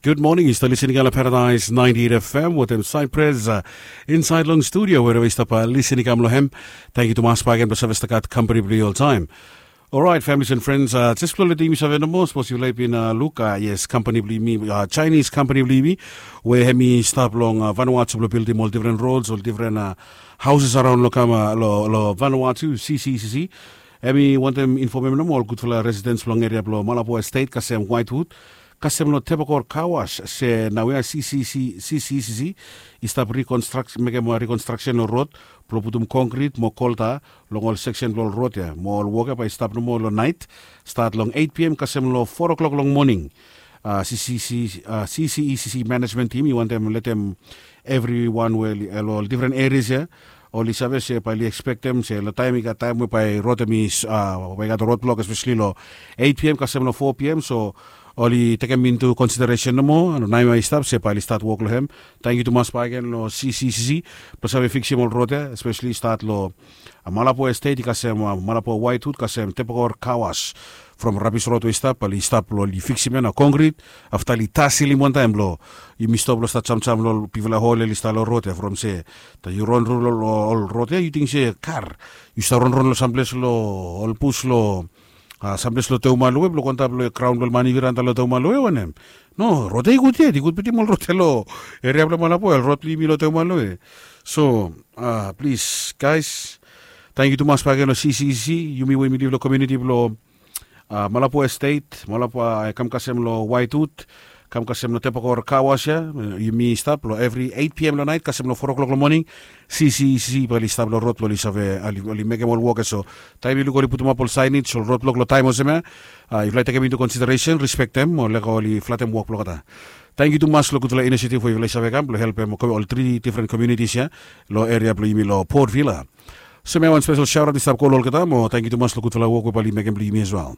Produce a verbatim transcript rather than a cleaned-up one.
Gud moning, yu stap lisin i kam long Paradise ninety eight F M wetem Cypress, uh, insaed long studio, wherever yu stap, uh, lisin i kam long hem. Tangkiu tumas bakegen blong save stap gat kampani blong yu oltaem. Orait, families and friends, uh, jes blong letim yumi save nomo, sapos yufala i bin, uh, luk, uh, yes, kampani blong yumi, uh, Chinese kampani blong yumi, we hem i stap long, uh, Vanuatu blong bildim ol difren rods, ol difren, uh, houses around long kam, uh, long, long Vanuatu, C C C C. Hem i wantem infomem nomo ol gudfala residents blong eria blong Malabo Estate kasem Whitewood, kasem long Tabacor Car Wash, se naoia C C C C C C C i stap reconstruct, mekem, uh, reconstruction long rod blong putum konkrit mo kolta long ol seksen blong ol rod ya, mo ol wok ya bae i stap nomo long naet, stat long eight P M kasem long four o'clock long moning. Uh, C C C, uh, C C E C C management team i wantem letem evriwan we, uh, long ol difren erias ya, oli save se bae oli ekspektem se long taem i gat taem we bae rod hem i, uh, bae i gat rod blok, espeseli long eight P M kasem long four P M, so oli tekem into consideration nomo, naoia i stap se bae oli stat wok long hem. Tangkiu tumas bakegen long C C C C blong save fiksim ol rod ya, espeseli stat long, uh, Malabo Estate i kasem, uh, Malabo Whitewood kasem Tabacor Car Wash. From rabis rod we i stap, bae oli stap blong oli fiksim ya na konkrit, afta oli taselim wantaem blong yumi stop long stat jamjam long ol bigfala hol oli stap long rod ya, from se taem yu ronron long ol rod ya yu ting se kar, yu stap ronron long samples long ol bus long, uh, samples long Teumaluwe blong go antap long graon blong ol Maniwira antap long Teumaluwe wanem. No, rod ya i gud yet, i gud bitim ol rod ya long eria blong Malabo ya, ol rod blong yumi long Teumaluwe. So, uh, plis, guys, tangkiu tumas bakegen long C C C C, yumi we yumi liv long komuniti blong, uh, Malabo Estate, Malabo, uh, kam kasem long Whitewood, kam kasem long Tabacor Car Wash ya, uh, yumi stap long evri eight P M long naet kasem long four o'clock long moning. C C C C bae oli stap long rod blong oli save, uh, oli, oli mekem ol wok ya, so taem yu luk oli putumap ol signage, ol rod blok long taem olsem ya, uh, yufala i tekem into consideration, respektem, mo lego oli flatem wok blong olgeta. Tangkiu tumas long gudfala inisiativ we yufala i save kam blong helpem ol tri difren komunitis ya long eria blong yumi long Port Vila. So mi wan spesel shaoraot i stap go long olgeta, mo tangkiu tumas long gudfala wok we bae oli mekem blong yumi as well.